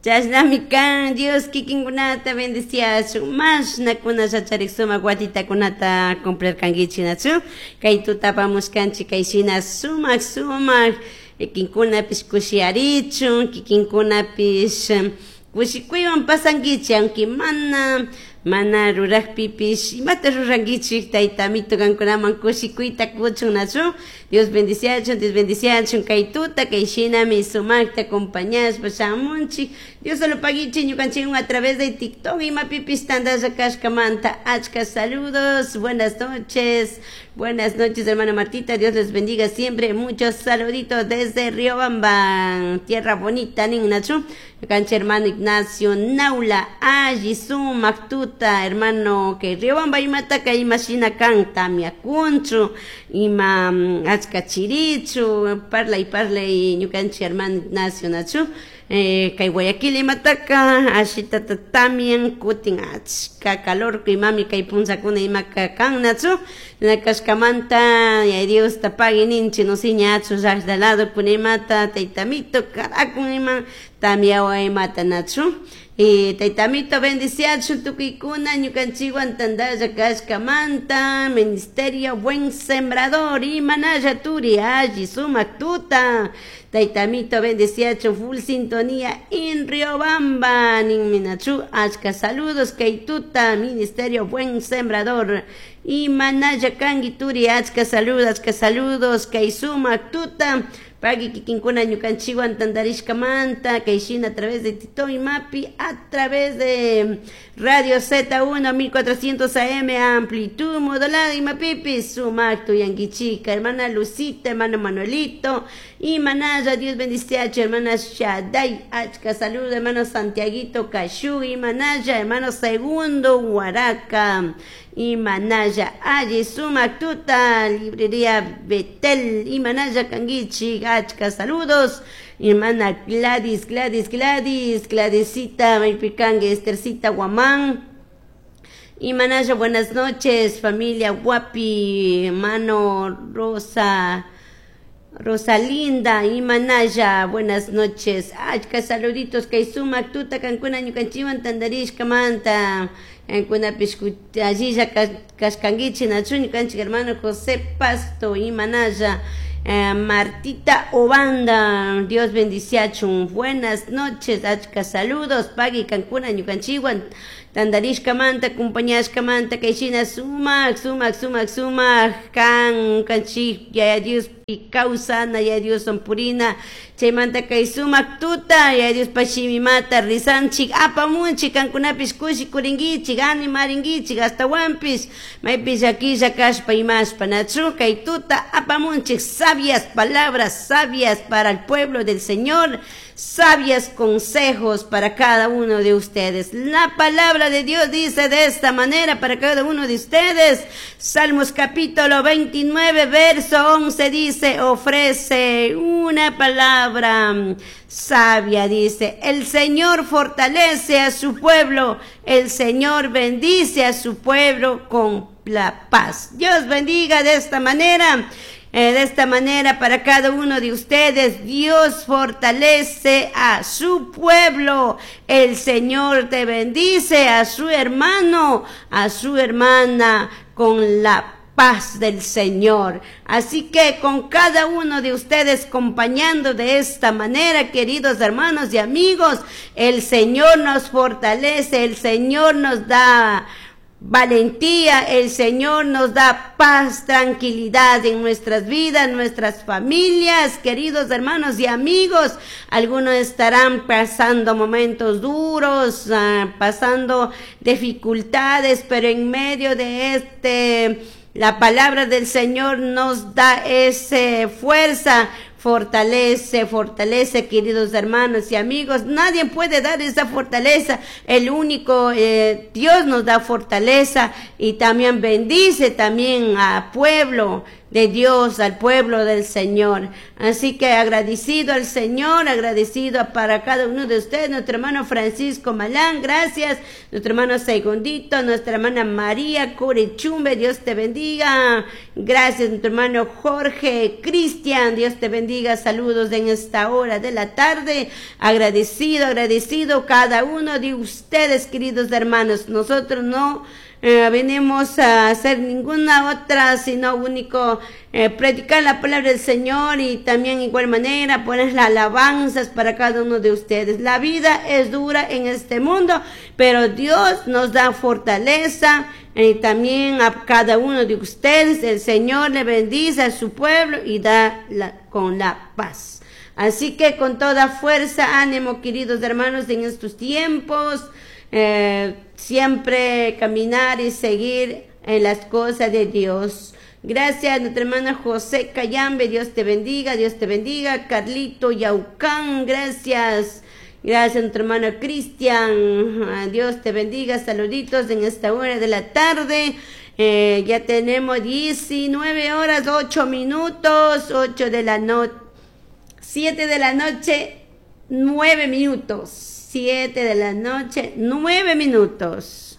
Chashnami kan Dios kikinkunata bendiciachun mashnakuna charik sumak watitakunata cumplirkankichik, nachu? Kay tutapamushkanchik kay shina sumak sumak kikinkunapish kushiyarichun, kikinkunapish kushikuywan pasankichik, aunque mana rurakpipish imata rurankichik, tayta amito kankunaman kushikuyta kuchun, nachu? Dios bendiciachun, Dios bendiciachun. Kay tuta kay shinami sumakta acompañashpa shamunchik. Dios solo paguichik ñukanchikwan a través de TikTok imapipish tandalla kashkamanta. Achka saludos, buenas noches, buenas noches, hermana Martita, Dios les bendiga siempre, muchos saluditos desde Riobamba, tierra bonita, nin, nachu? Cancha hermano Ignacio Naula, alli sumak tuta, hermano, que Riobamba imataka imashina kan, tamyakunchu, ima achka chirichu, parlay parlay ñukanchik hermano Ignacio, nachu? Kay Guayaquil imataka ashitata tamyan, kutin achka calor imami kay punllakuna imaka kan, nachu? Kashkamanta ya Dios pagui ninchik, no siñachu llaqta lado kuna imata taytamito karakun ima tamyawan imata, nachu? Taytamito bendiciachun tukuykuna ñukanchikwan tandalla kashkamanta. Ministerio Buen Sembrador, imanalla turi, alli sumak tuta, taytamito bendiciachun, full sintonía en Riobamba, ninmi, nachu? Achka saludos kay tuta, Ministerio Buen Sembrador, imanalla kanki turi, achka saludos, achka saludos kay sumak tuta. Pagui kikinkuna ñukanchikwan tantarishkamanta kay shina a través de TikTok imapi, a través de Radio Z1 1400 AM amplitud modulada imapipi sumak tuyankichika. Hermana Lucita, hermano Manuelito, imanalla, Dios bendiciacho, hermana Shaday, achka saludo, hermano Santiaguito Kashu, imanalla, hermano Segundo Huaraca, imanalla, alli sumak tuta, librería Betel, imanalla kankichik, achka saludos, hermana Gladys, Gladys, Gladys, Gladysita, maypikanki, Estercita Guamán, imanalla, buenas noches, familia Guapi, hermano Rosa, Rosalinda, imanalla, buenas noches, achka saluditos, kay sumak tuta kankuna ñukanchikwan tantarishkamanta, kankunapish allilla kashkankichik, nachu? Ñukanchik hermano José Pasto, imanalla, Martita Obanda, Dios bendiciachun, buenas noches, achka saludos, pagui kankuna ñukanchikwan tantarishkamanta, acompañashkamanta, kay shina sumak, sumak, sumak, sumak kan kanchik Yaya Dios kawsana, Yaya Dios purina, chaymanta kay sumak tuta Yaya Dios shimimata rizanchik, apamunchik, kankunapish kushikurinkichik, animarinkichik, astawanpish maypi llakilla kashpa imashpa, nachu? Kay tuta apamunchik sabias palabras, sabias para el pueblo del Señor, sabias consejos para cada uno de ustedes. La palabra de Dios dice de esta manera para cada uno de ustedes. Salmos capítulo 29, verso 11 dice: ofrece una palabra sabia, dice, el Señor fortalece a su pueblo, el Señor bendice a su pueblo con la paz. Dios bendiga de esta manera. De esta manera para cada uno de ustedes, Dios fortalece a su pueblo. El Señor te bendice a su hermano, a su hermana con la paz del Señor. Así que con cada uno de ustedes acompañando de esta manera, queridos hermanos y amigos, el Señor nos fortalece, el Señor nos da valentía, el Señor nos da paz, tranquilidad en nuestras vidas, nuestras familias, queridos hermanos y amigos. Algunos estarán pasando momentos duros, pasando dificultades, pero en medio de la palabra del Señor nos da esa fuerza, fortalece, fortalece, queridos hermanos y amigos. Nadie puede dar esa fortaleza. El único Dios nos da fortaleza y también bendice también a pueblo. de Dios, al pueblo del Señor. Así que agradecido al Señor, agradecido para cada uno de ustedes, nuestro hermano Francisco Malán, gracias, nuestro hermano Segundito, nuestra hermana María Curechumbe, Dios te bendiga, gracias, nuestro hermano Jorge Cristian, Dios te bendiga, saludos en esta hora de la tarde, agradecido, agradecido cada uno de ustedes, queridos hermanos, nosotros no venimos a hacer ninguna otra, sino único predicar la palabra del Señor y también igual manera poner las alabanzas para cada uno de ustedes. La vida es dura en este mundo, pero Dios nos da fortaleza y también a cada uno de ustedes. El Señor le bendice a su pueblo y da con la paz. Así que con toda fuerza, ánimo, queridos hermanos, en estos tiempos, siempre caminar y seguir en las cosas de Dios. Gracias, nuestra hermana José Cayambe, Dios te bendiga, Dios te bendiga. Carlito Yaucán, gracias. Gracias, nuestro hermano Cristian, Dios te bendiga. Saluditos en esta hora de la tarde. Ya tenemos 19 horas 8 minutos, 8 de la noche, 7 de la noche, 9 minutos. 7 de la noche, 9 minutos.